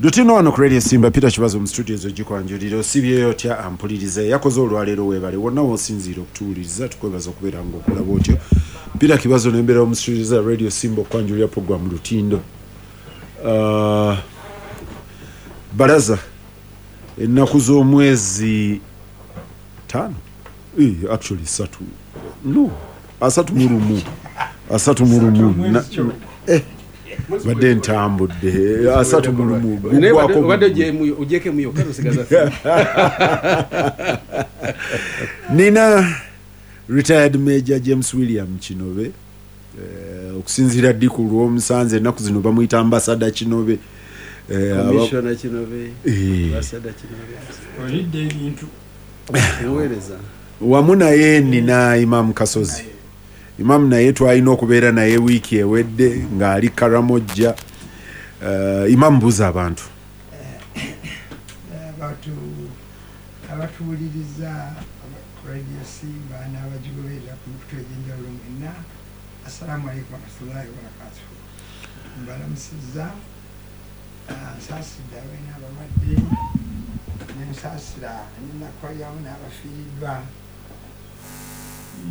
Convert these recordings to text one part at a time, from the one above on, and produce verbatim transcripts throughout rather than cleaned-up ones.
Lutino wano ku Radio Simba, Peter Kibazo mu studio ezo gikwanjulira. Osibyeyo otya ampuliriza yakoze olwaleero? Weebale wonna w'osinziira okutuwuliriza, tukwebaza okubeera ng'okola bwotyo. Peter Kibazo nembeerawo mu studio za Radio Simba okwanjulira program Lutindo. Uh, balaza ennaku z'omwezi taano, Eh, actually satu, no, asatu mu lumu, asatu mu lumu. Na- eh, badde ntambudde, asatu mu lumu Naye guggwako. Obadde ogyemu- ogyekemu yokka nosigaza. Nina retired Major James William Kinobe, eh, okusinziira ddi ku lwomusanze ennaku zino bamuyita Ambassador Kinobe. Eh, aba- Commissioner Kinobe. Eh. Ambassador Kinobe. Olidde ebintu. Enweereza. Wamu naye nina Imam Kasozi. Imam naye twalina okubeera naye wiiki ewedde ng'ali Karamojja. uh, imam buuza abantu. Abantu abatuwuliriza Radio Simba n'abagigoberera ku mikutu egy'enjawulo mwenna, assalamu alaikum warahmatullahi wabarakatuhu. Mbalamusizza. Ah, nsaasidde abalina abalwadde, nensaasira nenakwalyamu n'abafiiriddwa,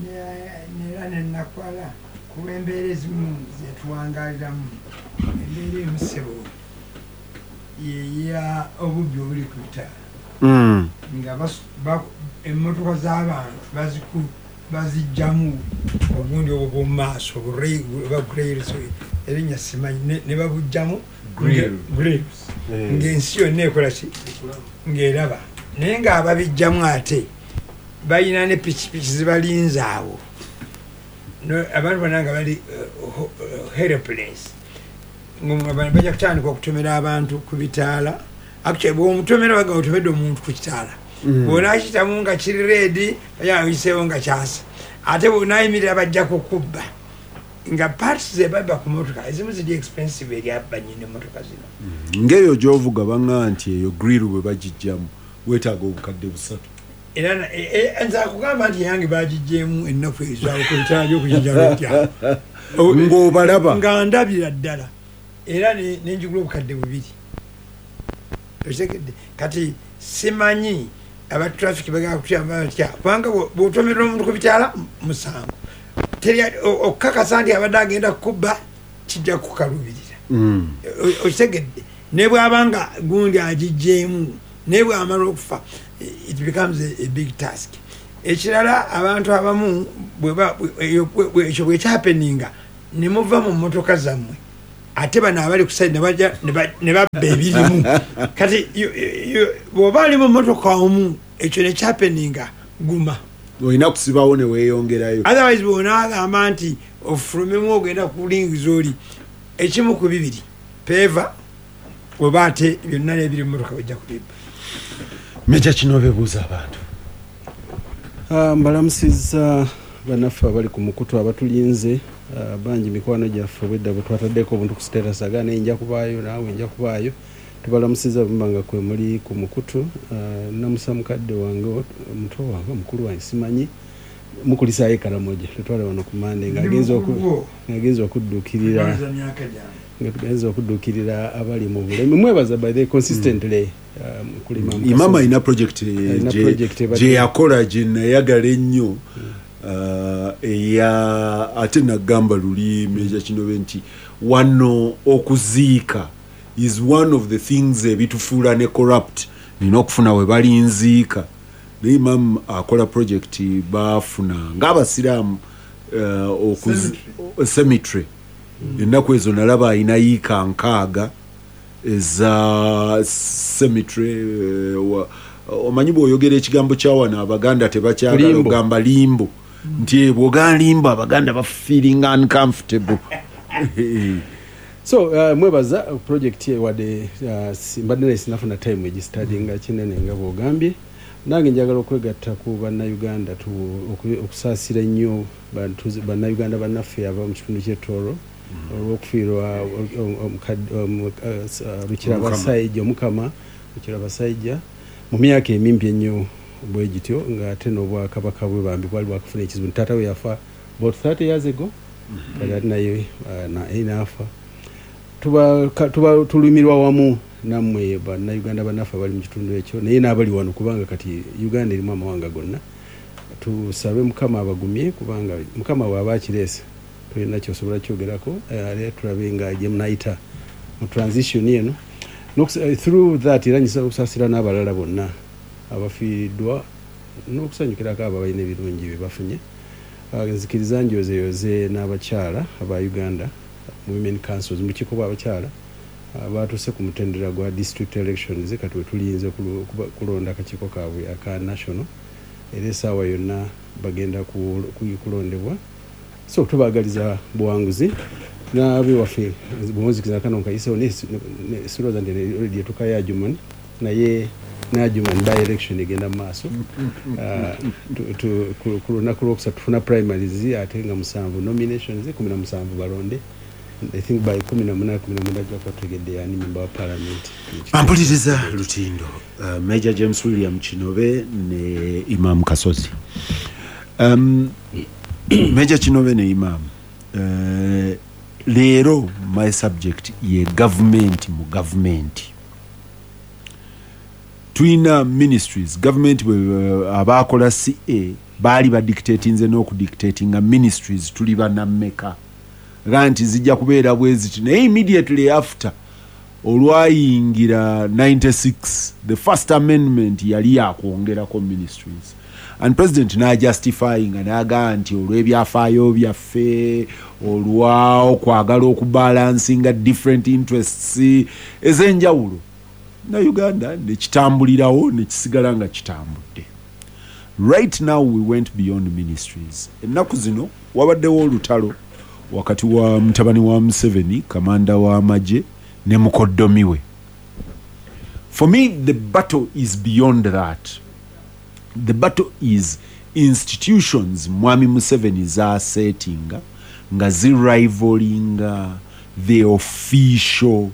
Ne- neera nenakwala ku lw'embeera ezimu zetuwangaaliramu. Embeera emu, ssebo, yeya obubbi obuli ku bitaala mm. nga bas- ba- emmotoka z'abantu baziku- bazijjamu obundi obwo bwomumaaso, oba grills, erinnya simanyi, ne- ne babugjamu. Grill. Grills, ng'ensi yonna ekola ki, ng'eraba. Naye ng'ababijjamu ate balina ne pikipiki zibalinze awo. No- abantu bonna nga bali eh, ho- eh, helpless. Nga abantu bajja kutandika okutomera abantu ku bitaala. Actually, bwomutomera baga otomedde omuntu ku kitaala, bwonakitamu nga kiri red, bajayiseewo nga kyasa, ate bwonayimirira bajja kukubba. Nga parts zebabba ku motoka ezimu ziri expensive eri abanyini emotoka zino. Ng'eyo gy'ovuga baŋŋa nti eyo grill bwe bagijjamu weetaaga obukadde busatu. Era na- e- e- nze akugamba nti yange bagijjeemu ennaku ezo awo ku bitaala byokugijjamu Ng'obalaba. Nga ndabira ddala, era ne- nenjigula obukadde bubiri. Okitegedde? Kati simanyi aba traffic bagala kutuyamba batya, kubanga bwo- bw'otomerera omuntu ku bitaala musango. Teri- o- okukakasa nti abadde agenda kukubba kijja kukalubirira. Mm. O- okitegedde? Ne bwabanga gundi agijjeemu, naye bwamala okufa, it becomes a, a big task. Ekirala, abantu abamu bweba- bwe- eyo- bwe- bwe- ekyo bwekyahappeninga ne muva mu mmotoka zammwe, ate bano abali ku side ne bajja ne ba- ne babba ebirimu. Kati you- you- bw'oba oli mu mmotoka omu ekyo nekyahappeninga, guma. Olina kusibawo ne weeyongerayo. Otherwise bwonaagamba nti ofulumemu ogenda kulingiza oli, ekimu ku bibiri, peva oba ate byonna n'ebiri mu mmotoka bajja kubibba. Major Kinobe, buuza abantu. Ah, mbalamusizza bannaffe abali ku mukutu abatulinze. ah, bangi mikwano gyaffe obwedda bwe twataddeko obuntu ku status aga naye nja kubaayo, naawe nja kubaayo. Tubalamusizza bumba nga kwe muli ku mukutu. Ah, namusa mukadde wange, muto wange, mukulu wange, simanyi, mukulisaayo Karamoja tetwala wano ku Mande ng'agenza oku- ng'agenza okudduukirira Ndowooza myaka gyange. Nga tugenza okudduukirira abali mu bulemi. Mwebaza by the consistently um, kulima mu Imama Kasozi. alina project Alina gye- project ebadde- gye yakola gye nayagala ennyo, uh, eya ate nagamba luli Major Kinobe nti wano okuziika is one of the things ebitufuula ne corrupt. Nina okufuna we balinziika, naye imam akola project bafuna ng'abasiraamu uh, okuzi- cemetery. Ennaku ezo nalaba alina yiika nkaaga eza cemetery. eh, wa- omanyi bw'oyogera ekigambo kyawano Abaganda tebakyagala. Limbo. Ogamba limbo nti eh, bw'ogamba limbo Abaganda bafeeling uncomfortable. So uh, mwebaza project ye wadde uh, si- mbadde naye sinafuna time egistudyinga kinene. Nga bwogambye, nange njagala okwegatta ku Bannayuganda tu- oku- okusaasira ennyo bantu- Bannayuganda bannaffe aba mu kitundu ky'e Tooro olw'okufiirwa omukadde- omu- eh, s- eh, Rukirabashaija, Omukama Rukirabashaija, mu myaka emimpi ennyo bwe gityo, ng'ate n'obwakabaka bwe bambi bwali bwakafuna ekizibu. Taata we yafa about thirty years ago, kati ate naye eh, naye n'afa. Tuba ka- tuba tulumirwa wamu. Nammwe Bannayuganda bannaffe abali mu kitundu ekyo, naye n'abali wano, kubanga kati Uganda erimu amawanga gonna, tusabe Mukama abagumye, kubanga Mukama bw'aba akireese tolina kyosobola kyogerako. Ate tulabe nga gye munayita mu transition eno. Through that, era nyisa okusaasira n'abalala bonna abafiiriddwa n'okusanyukirako abo abalina ebirungi bye bafunye. Nzikiriza njozeyoze n'abakyala aba Uganda Women Councils, mu bukiiko bw'abakyala batuuse ku mutendera gwa district elections. Kati we tulinze kulonda akakiiko kaabwe aka national, era essaawa yonna bagenda kulondebwa, so tubaagaliza buwanguzi. N'abewaffe bwonzikiriza kano nkayisewo, sirowooza nti already etuukayo Adjumani, naye n'Adjumani by election egenda mu maaso ku lunaku lwokusatu. Tufuna primaries, ate nga musanvu nominations, kumi na musanvu balonde. I think by kumi na munana, kumi na mwenda ajja kuba tutegedde ani member wa parliament. Ampuliriza Lutindo, uh, Major James William Kinobe ne Imam Kasozi. um, major Kinobe ne Imam, uh, leero my subject ye government mu government. Tulina ministries. Government abakola C A baali badictatinze n'okudictatinga ministries tuli banammeka, ga nti zijja kubeera bwe ziti. Naye immediately after olwayingira ninety-six, the first amendment yali yakwongerako ministries, and president najustifyinga n'agamba nti olw'ebyafaayo byaffe, olwa okwagala okubalansinga different interests ez'enjawulo na Uganda, nekitambulirawo nekisigala nga kitambudde. Right now we went beyond ministries. Ennaku zino wabaddewo olutalo wakati wa mutabani wa Museveni, kamanda w'amagye, ne mukoddomi we. For me, the battle is beyond that. The battle is institutions mwami Museveni zasetinga nga zirivalinga the official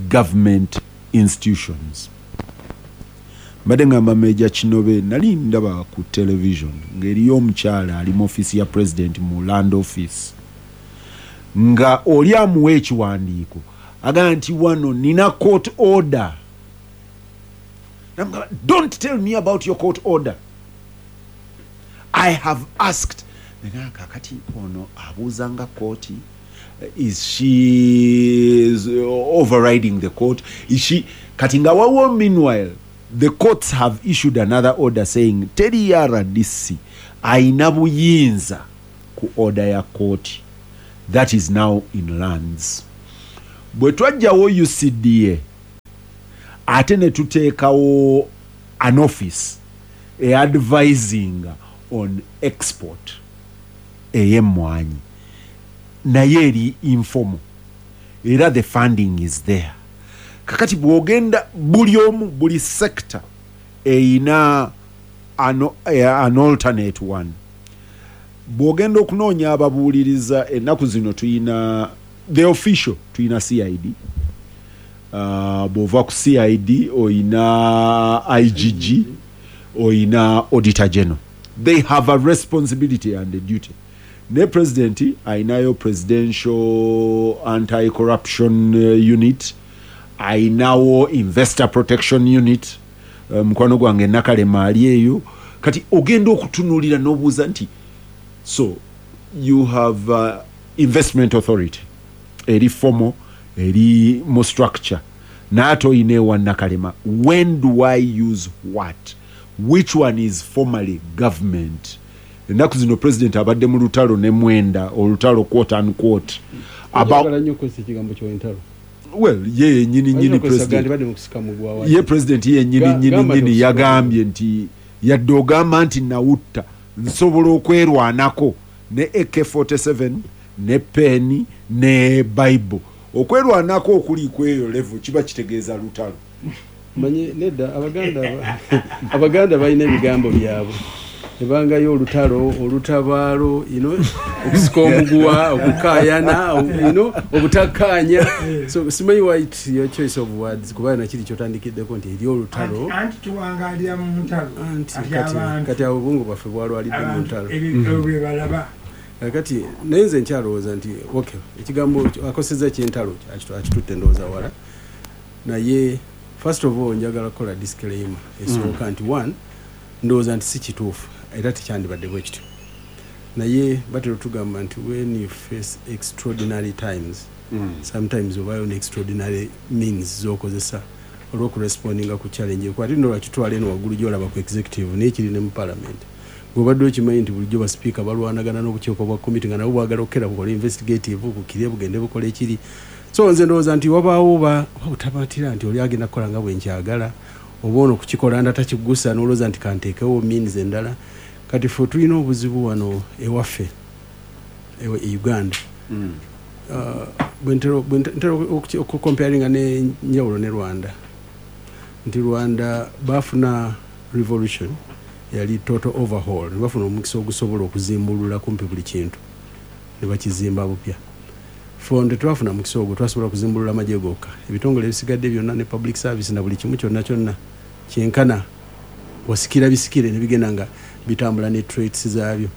government institutions. Mbadde ngamba Meja Kinobe, nali ndaba ku television ng'eriyo omukyala ali mu ofiisi ya president, mu land office, nga oli amuwa ekiwandiiko agamba nti wano nina court order. Namugamba, "Don't tell me about your court order, I have asked." Naye kakati ono abuuza nga kooti, is she is overriding the court? Is she kati nga wawo? Meanwhile, the courts have issued another order saying teri R D C ayina buyinza ku order ya kooti. That is now in lands. Bwe twajjawo U C D A, ate ne tuteekawo an office eadvising on export ey'emmwanyi, naye eri informal, era the funding is there. Kakati bw'ogenda buli omu, buli sector eyina an, an alternate one. Bw'ogenda okunoonya ababuuliriza ennaku zino, tuyina the official, tuyina C I D. uh, bw'ova ku C I D oyina I G G, oyina Auditor General. They have a responsibility and a duty. Ne president ayinayo Presidential Anti-Corruption uh, Unit, ayinawo Investor Protection Unit. uh, mukwano gwange Nakalema ali eyo. Kati ogenda okutunuulira n'obuuza nti so you have uh, Investment Authority eri formal, eri mu structure, naate oyina ewa Nakalema. When do I use what? Which one is formally government? Ennaku zino president abadde mu lutalo ne mwenda, olutalo quote unquote about Njagala nnyo okukozesa ekigambo ky'entalo. Well, ye yenyini nyini president Badde mu kusika mugwa. Ye president ye nyini Ga- nyini gamba nyini nti yagambye nti yadde ogamba nti nawutta, nsobola okwerwanako ne A K forty-seven ne peni ne Bible. Okwerwanako okuli kweyo level kiba kitegeeza lutalo. Manye nedda, abaganda abaganda balina ebigambo byabwe, ebangayo olutalo, olutabaalo, you know, okusika omuguwa, okukaayana, you know, obutakkaanya. So simanyi why it's your choice of words, kuba nakiri kyotandikiddeko nti eri olutalo. Anti tuwangalira mu ntalo. Anti Kati kati abantu kati awo obwongo bwaffe bwalwalidde mu abantu ntalo. Ebyo bye balaba. Kakati naye nze nkyalowooza nti okay, ekigambo akosezza kyentalo akitutte ndowooza wala. Naye first of all njagala kukola disclaimer esooka nti one, ndowooza nti si kituufu era tekyandibadde bwe kityo, naye batera otugamba nti when you face extraordinary times, sometimes obayo ne extraordinary means z'okozesa olw'okurespondinga ku challenge eko. Ate nno lwakitwala eno waggulu gy'olaba ku executive, naye kiri ne mu parliament. Bw'obadde okimanyi nti bulijjo basipiika balwanagana n'obukiiko bwa committee nga nabo bwagala okukera bukole investigative bukire bugende bukole ekiri. So nze ndowooza nti wabaawo ba oba butamatira nti oli agenda kukola nga bwe nkyagala, oba ono kukikola nda takigusa, n'olowooza nti kanteekewo means endala. Kati ffe tulina obuzibu wano ewaffe ewe e Uganda. Uh, bwe ntera bwe ntera okuki- okucomparinga n'enjawulo ne Rwanda, nti Rwanda bafuna revolution yali total overhaul, ne bafuna omukisa ogusobola okuzimbulula kumpi buli kintu ne bakizimba bupya. Ffe tetwafuna mukisa ogwo, twasobola kuzimbulula amagye gokka, ebitongole ebisigadde byonna ne public service na buli kimu kyonna kyonna kyenkana wasikira bisikire ne bigenda nga bitambula ne traits zaabyo.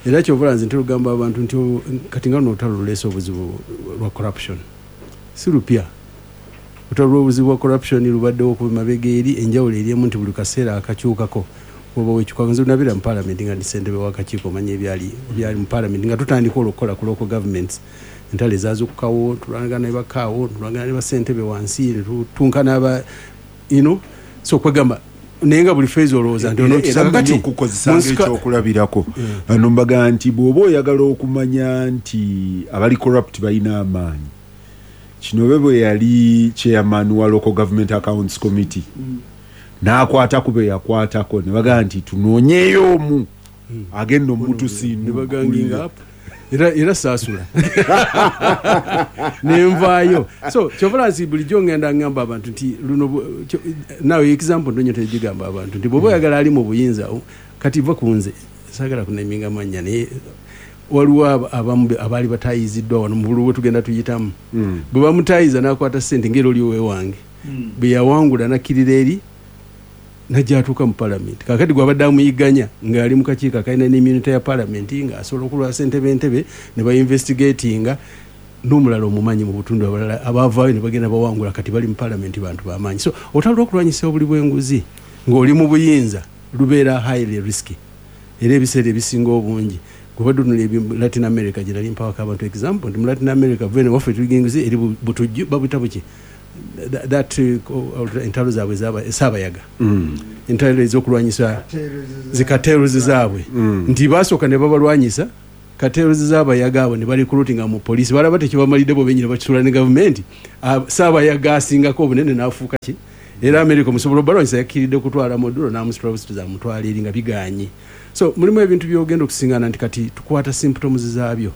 Era kyova nze ntera okugamba abantu nti o- kati nga luno olutalo luleese obuzibu lwa corruption si lupya. Olutalo lw'obuzibu bwa corruption lubaddewo okuva mabega eri. Enjawulo eriemu nti buli kaseera akakyukako oba wekyuka. Nze nabeera mu parliament nga ndi ssentebe w'akakiiko, omanya ebyali ebyali mu parliament nga tutandika olwo okukola ku local governments, entalo ezazukukawo, tulwanagana ne bakaawo, tulwanagana ne basentebe wansi, ne tutunkana aba you know so kwegamba, naye nga buli phase olowooza nti Era onookisa. mmanyi Kakati okukozesa mu nsika- ng'ekyokulabirako ano, mbaga nti bw'oba oyagala okumanya nti abali corrupt balina amaanyi, Kinobe bwe yali chairman wa Local Government Accounts Committee n'akwata ku be yakwatako, ne bagamba nti tunoonyeeyo omu agenda ne omutusiinula. baganginga up, era era saasula nenvaayo. So kyova nsi bulijjo ngenda ngamba abantu nti luno bu- kyo- nawe example ndonyo tegigamba abantu nti bw'oba oyagala ali mu buyinza, o- kati va ku nze, saagala kunaminga mannya, naye waliwo aba- abamu be- abaali batayiziddwa wano mu bululu bwe tugenda tuyitamu, bwe bamutayiza n'akwata ssente ng'era oli owewange bwe yawangula nakkirira eri najja atuuka mu palamenti. Kakati gwabadde amuyiganya ng'ali mu kakiiko akalina n'immunity ya palamenti, ng'asobola okulwa ssentebe entebe ne bainvestigatinga n'omulala omumanyi mu butundu. Abalala abavaayo ne bagenda bawangula, kati bali mu palamenti, bantu bamaanyi. So olutalo lw'okulwanyisa obuli bw'enguzi ng'oli mu buyinza lubeera highly risky, era ebiseera ebisinga obungi gwebadde otunula ebi Latin America gye nali mpawako abantu example nti mu Latin America vene waffe tuliga enguzi eri bu- butujju babuyita buki, That- that uh, entalo zaabwe zaba- saabayaga, entalo ez'okulwanyisa zicartels zaabwe, nti basooka ne babalwanyisa cartels z'abayaga abo ne barecruitinga mu poliisi, balaba tekibamalidde bo benyini, bakitula ne gavumenti. Ah, saabayaga asingako obunene n'afuuka ki. Era America omusobola obalwanyisa yakkiridde kutwala Maduro n'amusitula amutwala eri nga biganye. So mulimu ebintu byogenda okusingana nti kati tukwata symptoms zaabyo,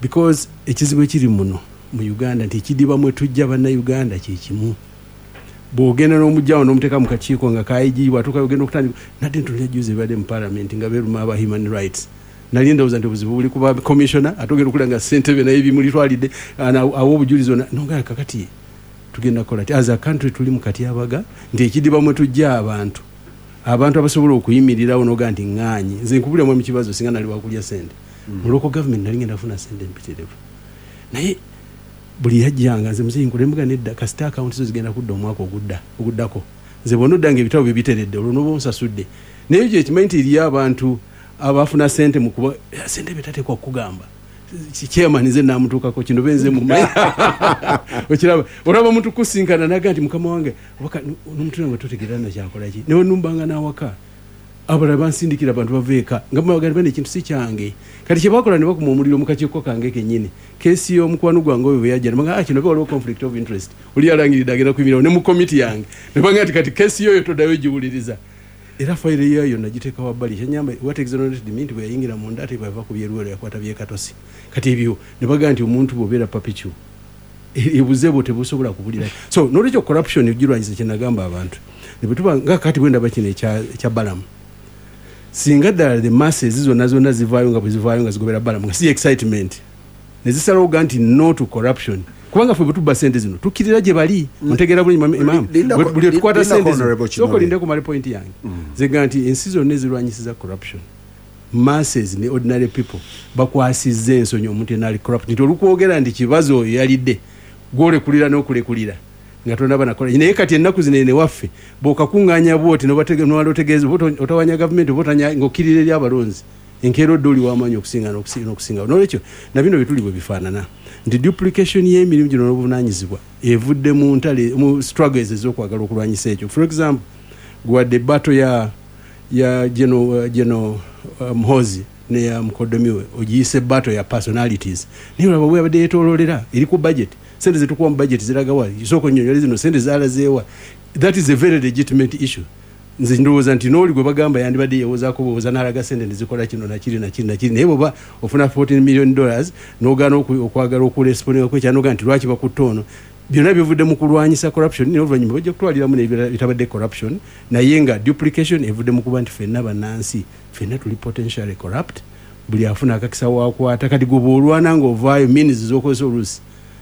because ekizibu ekiri muno mu Uganda nti ekidiba mwe tujja bannayuganda kyekimu. Bw'ogenda n'omugjawo n'omuteeka mu kakiiko nga kaigi, bwatuuka ogenda okutandika nadde ntunula juzi ebadde mu parliament nga beeruma aba human rights, nali ndowooza nti obuzibu buli kuba commissioner, ate ogenda okulaba nga ssentebe naye bimulitwalidde ana- awa obujulizi ona nongaa. Kakati tugenda kukola ti as a country tuli mu katyabaga nti ekidiba mwe tujja abantu abantu abasobola okuyimirirawo noga nti ŋŋaanyi. Nze nkubuliramu emikibazo, singa nali wakulya sente mu local government nali ngenda kufuna sente mpitirivu, naye buli yajjanga nze muzeyi nkulembuga nedda, kasita akawunti zo zigenda kudda omwaka ogudda oguddako, nze bwona oddanga ebitabo bye biteredde olwo noba onsasudde. Naye ekyo ekimanyi nti eriyo abantu abafuna sente mu kuba sente betateekwa kukugamba. Chairman nze namutuukako kino benze mumanyi, okiraba olaba omuntu kusinkana naga nti mukama wange nomutu nga totegeera nakyakola ki, newe numbanga nawaka abalala bansindikira abantu bava eka nga bagamba bane ekintu si kyange. Kati kyebakola ne bakuma omuliro mu kakiiko kange kennyini, case y'omukwano gwange oyo bwe yajja nebaga, ah, kino waliwo conflict of interest, oli yalangiridde agenda kuyimirirawo ne mu komiti yange, ne baga nti kati case yoyo toddayo giwuliriza. Era fayiro yayo nagiteeka wabbali. Kyanyamba what exonerated me nti bwe yayingira munda ate bwava ku byeruwero yakwata byekatosi. Kati ebyo ne bagaa nti omuntu bw'obeera perpetual ebuze bwo tebusobola kubulira. So nolwekyo corruption ogirwanyisa, kyenagamba abantu ne bwe tuba nga kati bwendaba kino ekya ekya Balamu, singa ddala the masses zonna zonna zivaayo nga bwe zivaayo nga zigobera Balamu nga si excitement ne zisalawo ga nti no to corruption, kubanga ffe bwe tubba sente zino tukkirira gye bali. Ontegeera bulungi, imam? Lindako- Buli tukwata lindako, sente zino Honorable sooka Kinobe. olindeko male point yange. Nze nti ensi zonna ezirwanyisiza corruption, masses ne ordinary people bakwasizza ensonyi omuntu yenna ali corrupt, nti olukwogera nti kibazo oyo yalidde gwolekulira n'okulekulira. Nga tonaba nakola. Naye kati ennaku zino eno ewaffe bw'okakuŋŋaanya bw'oti n'owala otegeeza oba otawanya gavumenti oba otanya ng'okkirira eri abalonzi, enkeera odde oli w'amaanyi okusinga n'okusinga. Noolwekyo na bino bye tuli bwe bifaanana nti duplication y'emirimu gino n'obuvunaanyizibwa evudde mu ntale, mu struggles ez'okwagala okulwanyisa ekyo. For example, gwadde battle ya ya General General uh, Muhoozi ne ya mukoddomi we ogiyise battle ya personalities, naye olaba bwe yabadde yeetooloolera eri ku budget. Sente zetukuwa mu budget ziragawa? Sooka onnyonnyole zino sente zaalazeewa. That is a very legitimate issue. Nze ndowooza nti n'oli gwe bagamba yandibadde yeewozaako bwowoza n'alaga sente nezikola kino nakiri nakiri nakiri, naye bw'oba ofuna fourteen million dollars n'ogaana okwagala okurespondinga ku ekyanoga nti lwaki bakutta ono, byonna bivudde mu kulwanyisa corruption. Naye oluvannyuma bajja kutwaliramu n'ebirala bitabadde corruption, naye nga duplication evudde mu kuba nti ffenna bannansi, ffenna tuli potentially corrupt. Buli afuna akakisa wakwata. Kati gwe bw'olwana ng'ovaayo, means z'okozesa oluusi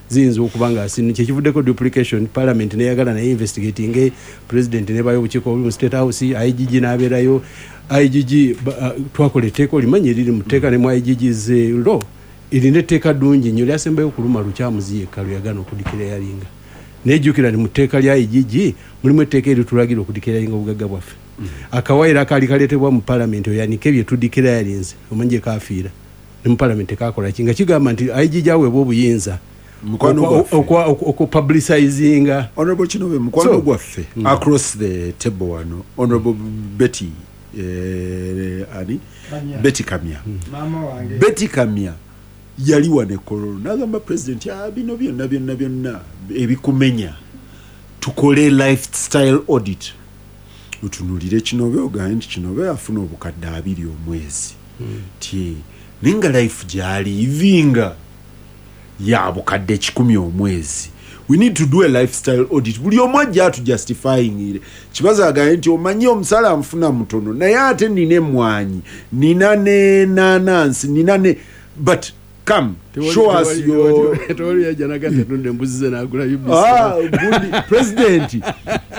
ziyinza okuba nga sinu kyekivuddeko duplication. Parliament neyagala naye investigating, president nebayo obukiiko obuli mu State House, I G G n'abeerayo. I G G uh, twakola etteeka olimanyi eriri mu tteeka ne mu I G G's law, erina etteeka ddungi nnyo lyasembayo okuluma Lukyamuzi yekka lwe yagaana okudeclaringa. Naye jjukira nti mu tteeka lya I G G mulimu etteeka eritulagira okudeclaringa obugagga bwaffe. Akawaayiro akaali kaleetebwa mu parliament oyanike bye tudeclarinze, omanyi gye kafiira ne mu parliament tekakola ki, nga kigamba nti I G G aweebwa obuyinza Mukwano gwaffe. Okupublicizinga. Honorable Kinobe, mukwano So- gwaffe across the table wano, Honorable Betty, eh, ani? Kamya. Betty Kamya. Maama wange. Betty Kamya yali wano e Kololo n'agamba president, "Ah, bino byonna byonna byonna ebikumenya, tukole lifestyle audit, otunuulire Kinobe, ogambe nti Kinobe afuna obukadde abiri omwezi ti, naye nga life gy'alivinga ya bukadde kikumi omwezi. We need to do a lifestyle audit, buli omu ajja atujustifyingire." Kibazo agambe nti omanyi omusala nfuna mutono, naye ate nina emwanyi, nina nenanansi, nina ne, but come show us your Tewali yajja naga nti atunda embuzi ze n'agula U B C. Ah, gundi president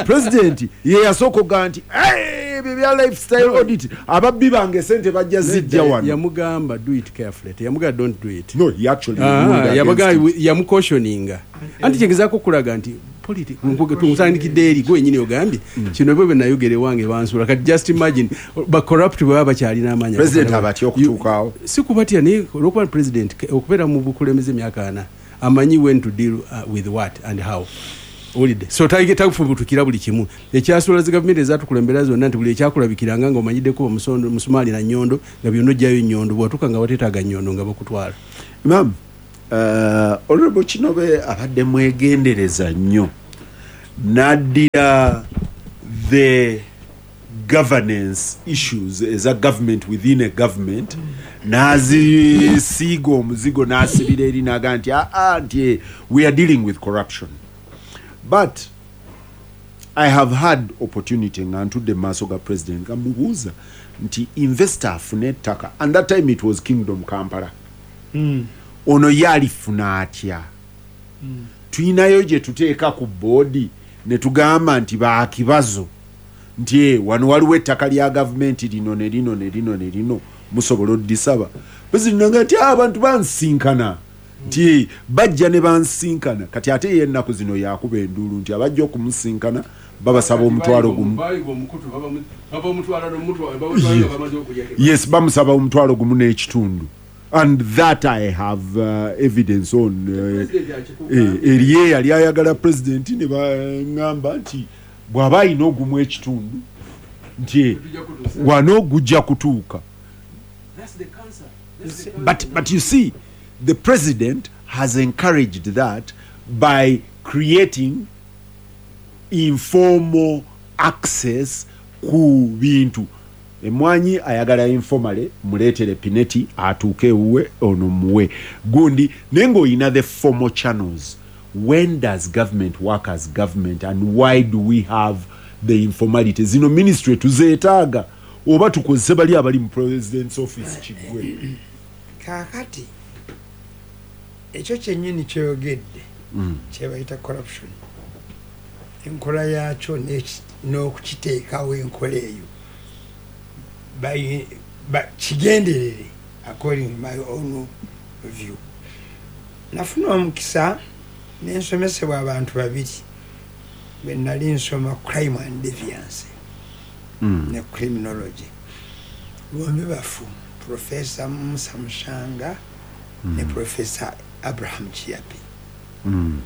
president ye yasooka okugaa nti, "Hey, ebyo bya lifestyle audit, ababbi bange sente bajja zijja wano." Yamugamba do it carefully, teyamugamba don't do it. No, he actually Ah, ruled against yamugamba it. Yamucautioninga anti kyegezaako okulaga nti tusandikidde eri gwe wenyini ogambye kino bwe bwe nayogera ewange bansuula. Kati just imagine ba corrupt bwe baba bakyalina amaanyi. President abatya okutuukaawo. Si kubatya, naye olwokuba president ke- okubeera mu bukulembeze emyaka ana, amanyi when to deal uh, with what and how. Owulidde? So tafubutukira buli kimu. Ekyasuula zi gavumenti ezatukulembera zonna nti buli ekyakulabikiranga nga omanyiddeko omusondo musumaali na nnyondo, nga byonna ojjayo nnyondo, bwatuuka nga wateetaaga nnyondo nga bakutwala. Imam, uh, Honorable Kinobe abadde mwegendereza nnyo n'addira the governance issues eza government within a government, n'azisiiga omuzigo n'asibira eri, n'agaa nti aa, nti eh, we are dealing with corruption. But I have had opportunity nga ntudde mu maaso ga president nga mubuuza nti investor afune ettaka, and that time it was Kingdom Kampala, Mm. ono ye alifuna atya? Tuyinayo gye tuteeka ku boodi ne tugamba nti bakibazo nti "Eh, wano waliwo ettaka lya gavumenti lino ne lino ne lino ne lino, musobola oddisaba." President naga nti "Ah, abantu bansinkana," nti "Eh, bajja ne bansinkana." Kati ate ye ennaku zino yakuba enduulu nti abajja okumusinkana babasaba omutwalo gumu. Yes, bamusaba omutwalo gumu n'ekitundu, and that I have uh, evidence on. uh, eh, eriye yali ayagala president ne baŋŋamba nti bw'aba ayina ogumu ekitundu nti eh, wano gujja kutuuka. but, but you see, the president has encouraged that by creating informal access ku bintu. Emwanyi ayagala informally, muleetere Pinetti atuuke ewuwe, ono muwe gundi, naye ng'olina the formal channels. When does government work as government, and why do we have the informality? Zino ministry tuzeetaaga oba tukozese bali abali mu president's office kiggwe? Kaakati ekyo kyennyini kyoyogedde kyebayita corruption, enkola yakyo n'eki- n'okukiteekawo enkola eyo Bayi- ba- kigenderere. According to my own view, nafuna omukisa nensomesebwa abantu babiri. Bwe nali nsoma crime and deviance Mm. ne criminology, bombi bafu, Professor Musa Mushanga ne Professor Abraham Chiapi, Mm.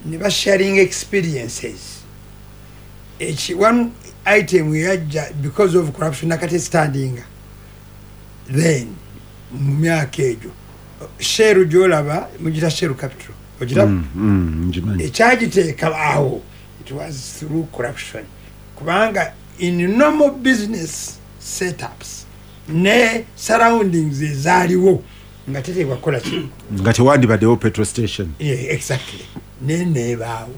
ne basharing experiences. Eki one item yajja because of corruption, nakati standing then mu myaka egyo, Shell gyolaba mugita Shell Capital, ogiraba? Mm. Mm. Ngimanyi. Ekyagiteeka awo, it was through corruption, kubanga in normal business setups ne surroundings ezaaliwo nga teteekwa kukola ki. Nga tewandibaddewo petrol station. Yeah, exactly. Neneebaawo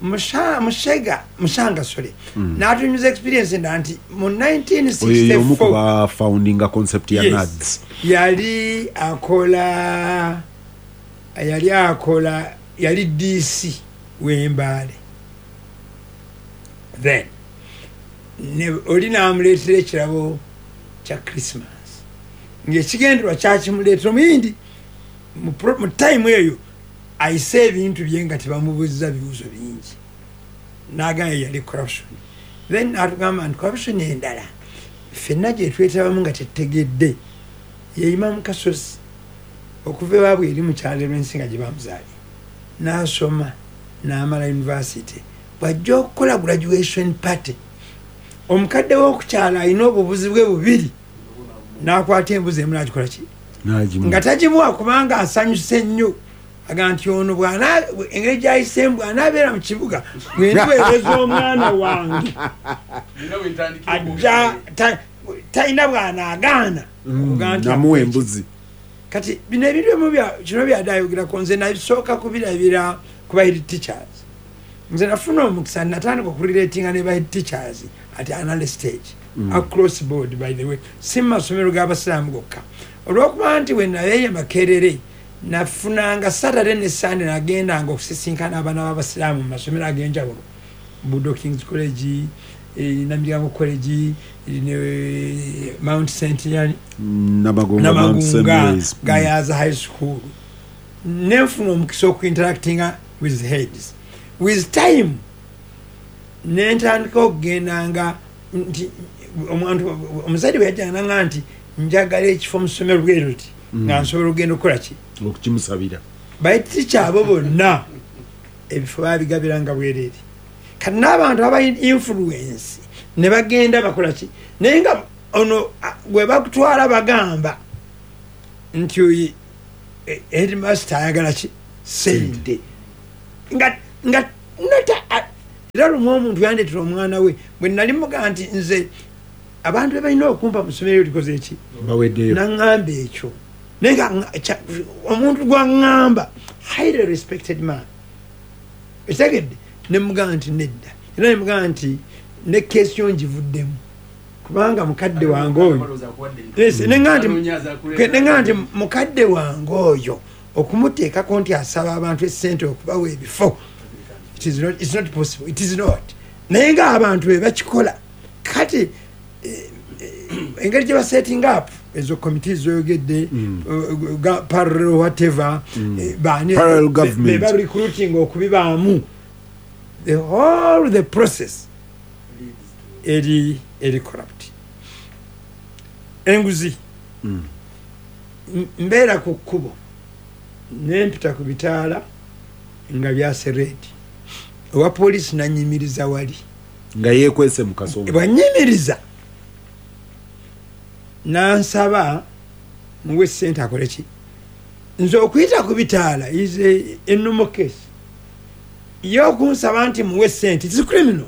Musha- mushega Mushanga, sorry, n'atunyuza experience endala nti mu Oyo y'omu ku nineteen sixty-four ba foundinga concept ya Yes. N A D S. Yali akola yali akola yali D C w'Embaale. Then ne oli n'amuleetera ekirabo kya Christmas, ng'ekigenderwa kyakimuleetera omuyindi mu pro- mu time eyo ayise ebintu bye nga tebamubuuziza bibuuzo bingi. N'agamba yali corruption. Then n'atugamba nti corruption endala ffenna gye twetabamu nga tetutegedde yeyima mu Kasozi, okuva ewaabwe eri mu kyalo lw'ensi nga gye bamuzaali, n'asoma n'amala university, bw'ajja okukola graduation party, omukadde w'okukyalo alina obubuzi bwe bubiri, n'akwata embuzi emu n'agikola ki, N'agimuwa. nga tagimuwa kubanga asanyuse nnyo, aga nti ono bw'ana- engeri gy'ayiseemu, bw'anaabeera mu kibuga bwendiweereza omwana wange ajja ta- talina bw'anaagaana okugaa nti namuwa embuzi. Kati bino ebintu ebimu bya- kino byadde ayogerako, nze nabisooka kubirabira ku ba head teachers. Nze nafuna omukisa, natandika okurelatinga ne ba head teachers at another stage, mm. across board, by the way, si mu masomero g'abasiraamu gokka, olwokuba nti we nabeeyo Makerere nafunanga Saturday ne Sunday, nagendanga okusisinkana abaana b'abasiraamu mu masomero ag'enjawulo, Budo Kings College, eh, Namilyango College, eh, ne Mount Saint yani Namagunga, Mount Saint Namagunga, Mary's. Mm. Gayaza High School, nenfuna omukisa okuinteractinga with heads. With time nentandika okugendanga nti omuntu omuzadde bwe yajjanga nanga nti njagala ekifo mu ssomero bwe luti, nga nsobola okugenda okukola ki, okukimusabira. Baiticha abo bonna ebifo babigabiranga bwereere. Kati n'abantu aba influence ne bagenda bakola ki, naye nga ono a- gwe bakutwala bagamba nti oyi eh, headmaster ayagala ki, sente, nga nga nota a- era lumu omuntu yandeetera omwana we, bwe nali mugaa nti nze abantu be balina okumpa mu ssomero likoze eki, Baweddeyo. Naŋŋamba ekyo, naye nga nga- kya- omuntu gwaŋŋamba, highly respected man, ekitegedde, nemugamba nti nedda, era nemugamba nti ne case yo ngivuddemu kubanga mukadde wange oyo. Yes, neŋŋamba nti neŋŋamba nti mukadde wange oyo okumuteekako nti asaba abantu esente okubawa ebifo, it is not, it's not possible, it is not. Naye ng'abantu be bakikola. Kati eh, eh, engeri gye basetting up ezo committees zoyogedde, uh, ga- parallel whatever, eh, baani Parallel government. be ba recruiting okubibaamu, the whole the process eri eri corrupt. Enguzi, Mm. M- mbeera ku kkubo nempita ku bitaala nga byase red, owa poliisi nanyimiriza wali. Nga yeekwese mu kasonga. Bwanyimiriza nansaba muwe sente akole ki. Nze okuyita ku bitaala is a- a normal case. Ye okunsaba nti muwe sente is criminal.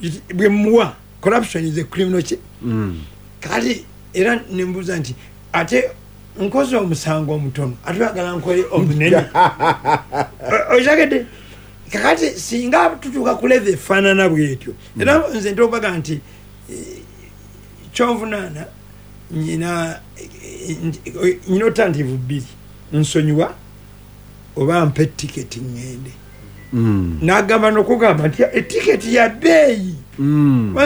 It- bwe muwa, corruption is a criminal ki. Mm. Kati era nembuuza nti ate nkoze omusango omutono, ate oyagala nkole omunene? O- okitegedde? kakati singa tutuuka ku level efaanana bwetyo, era nze ntobaga nti eh, kyonvunaana nyina eh, nti- nyina alternative bbiri: nsonyiwa oba mpa etiketi ŋŋende. Mm. Nagamba nokugamba nti etiketi ya bbeeyi. Mm.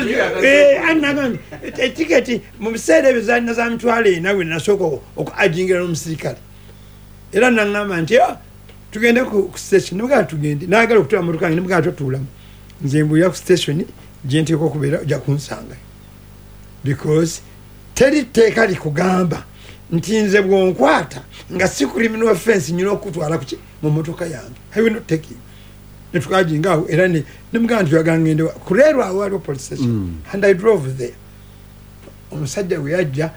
Eh, anagamba nti etiketi mu biseera ebyo zalina za mitwalo ena, bwe nasooka okuajingira n'omusirikale, era naŋŋamba nti, "Ah, Tugende ku ku station. Nemugamba tugende. Nayagala okutuula mu motoka yange, nemugamba totuulamu. Nze mbuulira ku station gye nteekwa okubeera, ojja kunsanga. Because teri tteeka likugamba nti nze bw'onkwata nga si criminal offense nyina okutwala kuki mu motoka yange. I will not take you. Ne tukajinga awo era ne nemugamba nti oyagala ngende wa? Kuleerwa awo waliwo police station. Mm. And I drove there. Omusajja bwe yajja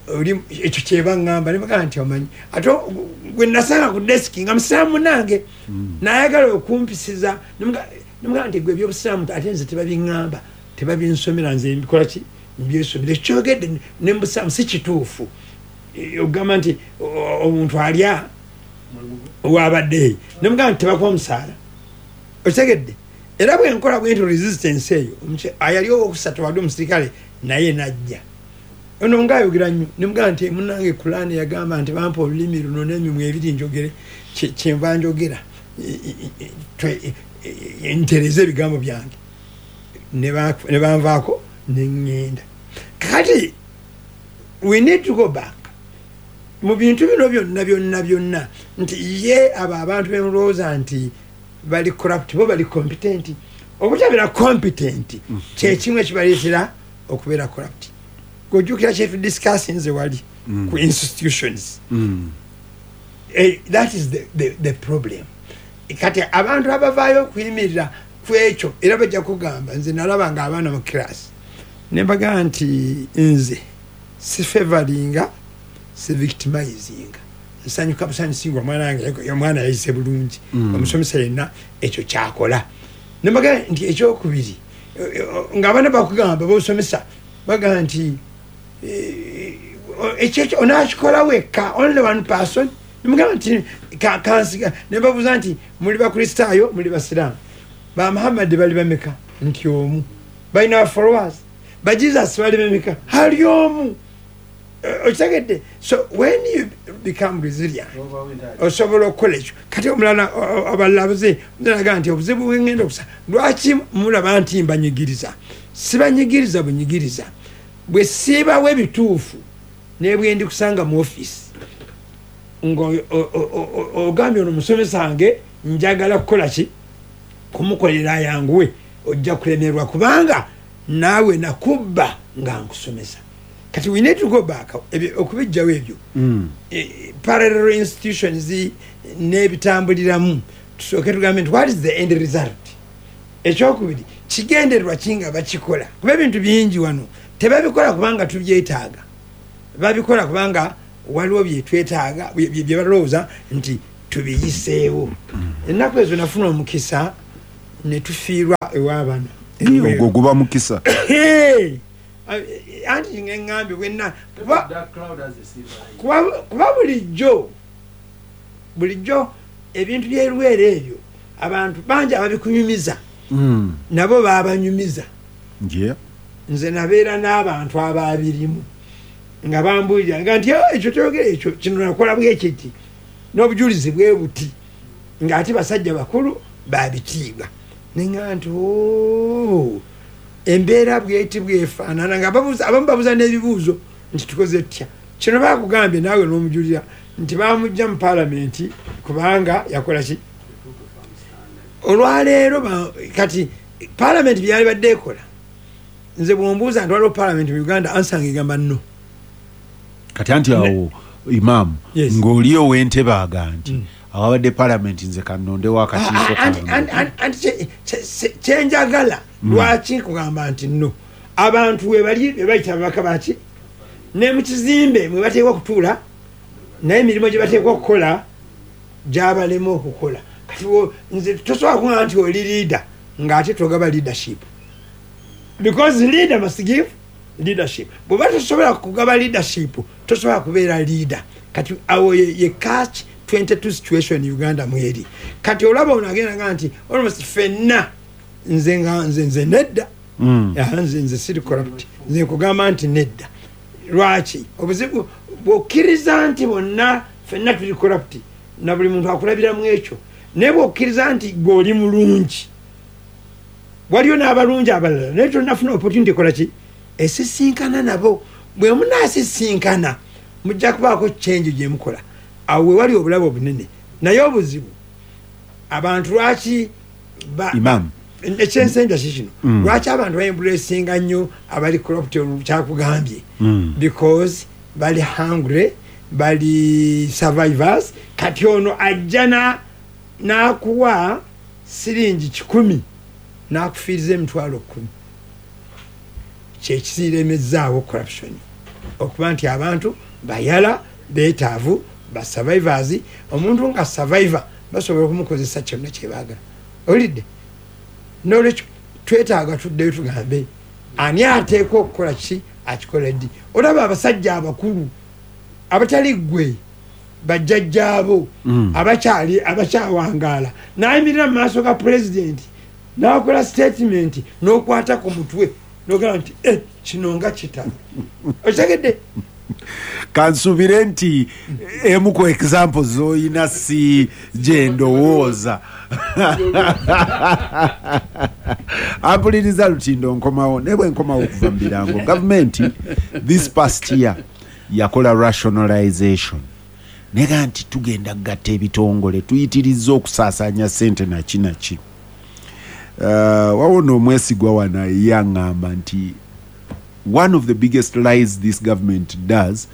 oli ekyo kyebaŋŋamba ne bagamba nti omanyi ate gwe nasanga ku deski nga musiraamu munange nayagala okumpisiza, ne mugamba nti gwe ebyobusiraamu ate nze tebabiŋŋamba, tebabinsomera, nze mbikola ki, mbyesomera. Ekyogedde ne mbusiraamu si kituufu. E, ogamba nti o- omuntu alya wabadde, ne mugamba nti tebakuwa omusaala, okitegedde? Era bwe nkola bwe nti resistance eyo, omuky- ayali owokusatu wadde omusirikale naye najja ono ngaayogera nnyo, nemugamba nti munange Kulaani yagamba nti bampa olulimi luno n'emimwa ebiri njogere, kye- kyenva njogera. E- e- e- twe- e- e- ntereze ebigambo byange. Ne ba- ne banvaako neŋŋenda. Kati we need to go back mu bintu bino byonna byonna byonna nti ye abo abantu bemulowooza nti bali corrupt, bo bali competent. Obutabeera competent kyekimu ekibaleetera okubeera corrupt. Gojjukira kyetudiscussinze wali ku institutions. Mm. Eh, that is the, the, the problem. Kati abantu abavaayo okuyimirira ku ekyo era bajja kugamba nze nalaba nga abaana mu class ne mbagamba nti nze sifavoringa, sivictimizinga, nsanyuka busanyusi nga omwana wange omwana yayise bulungi. Mm. Omusomesa yenna ekyo kyakola. Ne mbagamba nti ekyokubiri, eh, eh, ng'abaana bakugamba bosomesa bagamba nti eh, ekyo ekyo onakikola wekka, only one person. Nemugamba nti ka- kansiga nebabuuza nti muli bakristaayo, muli basiraamu, ba Muhammadi bali bameka? Nti omu. Balina followers. Ba Jesus bali bameka? Ali omu. Eh, okitegedde? So when you become resilient osobola okukola ekyo. Kati omulala o- o- abalala abuze naga nti obuzibu bwengenda okusa, lwaki mulaba nti mbanyigiriza? Sibanyigiriza bunyigiriza, bwe siibawo ebituufu nebwendi kusanga mu offisi nga o- o- o- o- ogambye ono musomesa wange njagala kukola ki, kumukolera ayanguwe, ojja kulemerwa kubanga naawe nakubba nga nkusomesa. Kati we need to go back ebyo- okubijjawo ebyo Mm. eh, parallel institutions n'ebitambuliramu, tusooke tugambe nti what is the end result. Ekyokubiri, kigendererwa ki nga bakikola? Kuba ebintu bingi wano tebabikola kubanga tubyetaaga, babikola kubanga waliwo byetwetaaga bye bye balowooza nti tubiyiseewo. Ennaku ezo nafuna omukisa ne tufiirwa ewabano. Ogwo guba mukisa. Hey! Anti ngeŋŋambye bwenna kuba kuba kuba bulijjo bulijjo ebintu byerwera ebyo abantu bangi ababikunyumiza Mm. nabo babanyumiza. Yeah. Nze nabeera n'abantu ababirimu nga bambuulira nga nti "Oh, ekyo toyogera ekyo, kino nakola bwekiti n'obujulizi bwe buti," ng'ate basajja bakulu babitiibwa. Neŋŋamba nti "Oh, embeera bweti bwefaanana," nga babuuza- abamu babuuza n'ebibuuzo nti tukoze tutya kino, bakugambye naawe n'omujulira nti bamugja mu paalamenti kubanga yakola ki. Olwaleero ba- kati paalamenti byali badde ekola, nze bwombuuza nti waliwo paalamenti mu Uganda, ansanga egamba no. Kati anti awo imaamu Yes. ng'oli ow'entebe aga nti Mm. awabadde palamenti nze kannondewo akakiiko Ah, ah, anti- kange. anti- anti- anti kye- kye- kye- kyenjagala lwaki nkugamba nti no, abantu webali bebayita ababaka baki ne mu kizimbe mwe bateekwa okutuula, naye emirimu gye bateekwa okukola gyabalema okukola. Kati wo- nze tosobola kuŋŋamba nti oli leader ng'ate togaba leadership, because leader must give leadership. Bw'oba tosobola kugaba leadership, tosobola kubeera leader. Kati awo ye, ye catch twenty-two situation Uganda mweri. Kati olaba ono agenda nga nti almost fenna, nze nga nze nze nedda. Mm. Ah, nze nze siri corrupt, nze nkugamba nti nedda. Lwaki? Obuzibu bw'okkiriza nti bonna fenna tuli corrupt na buli muntu akulabiramu ekyo, naye bw'okkiriza nti gwe oli mulungi, waliyo n'abalungi abalala, naye tonafuna opportunity ekola ki esisinkana nabo. Bwe munaasisinkana mujja kubaako change gye mukola. Awo we wali obulabe obunene. Naye obuzibu Abantu lwaki ba- Imam. Ekyensembya kikino, lwaki abantu baembracinga nnyo abali corrupt? Kyakugambye, because bali hungry, bali survivors. Kati ono ajja na- n'akuwa siringi kikumi n'akufiiriza emitwalo kumi. Kyekisiremezaawo corruption, okuba nti abantu bayala, beetaavu, ba survivors. Omuntu nga survivor basobola okumukozesa kyonna kyebaagala. Olidde? Nolwekyo twetaaga tuddeyo tugambe ani ateekwa okukola ki, akikola ddi. Olaba abasajja abakulu abatali ggwe, bajjajjaabo abakyali, abakyawangaala, nayimirira mu maaso ga pulezidenti nakola statement, n'okwata ku mutwe nogamba nti, "Eh, kino nga kitalo." Okitegedde? Kansubire nti emu ku example zoyina si gyendowooza. Ampuliriza Lutindo, nkomawo, naye bwe nkomawo okuva mu birango, gavumenti this past year yakola rationalization, nega nti tugenda kugatta ebitongole, tuyitiriza okusaasaanya sente naki naki. uh, wawona omwesigwa wano yaŋŋamba nti one of the biggest lies this government does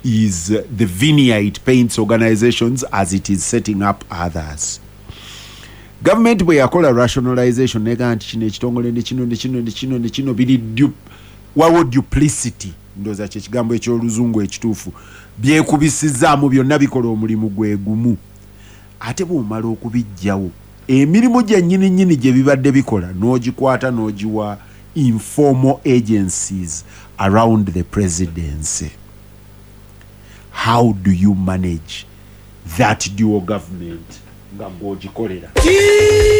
is uh, the veneer it paints organizations as it is setting up others. Gavumenti bwe yakola rationalization, nega nti kino ekitongole ne kino ne kino ne kino ne kino biri du- waliwo duplicity, ndowooza kyekigambo ekyoluzungu ekituufu, byekubisizaamu byonna bikola omulimu gwe gumu. Ate bw'omala okubijjawo, emirimu gyennyini nnyini gye bibadde bikola n'ogikwata n'ogiwa informal agencies around the presidency. How do you manage that dual government nga gw'ogikolera?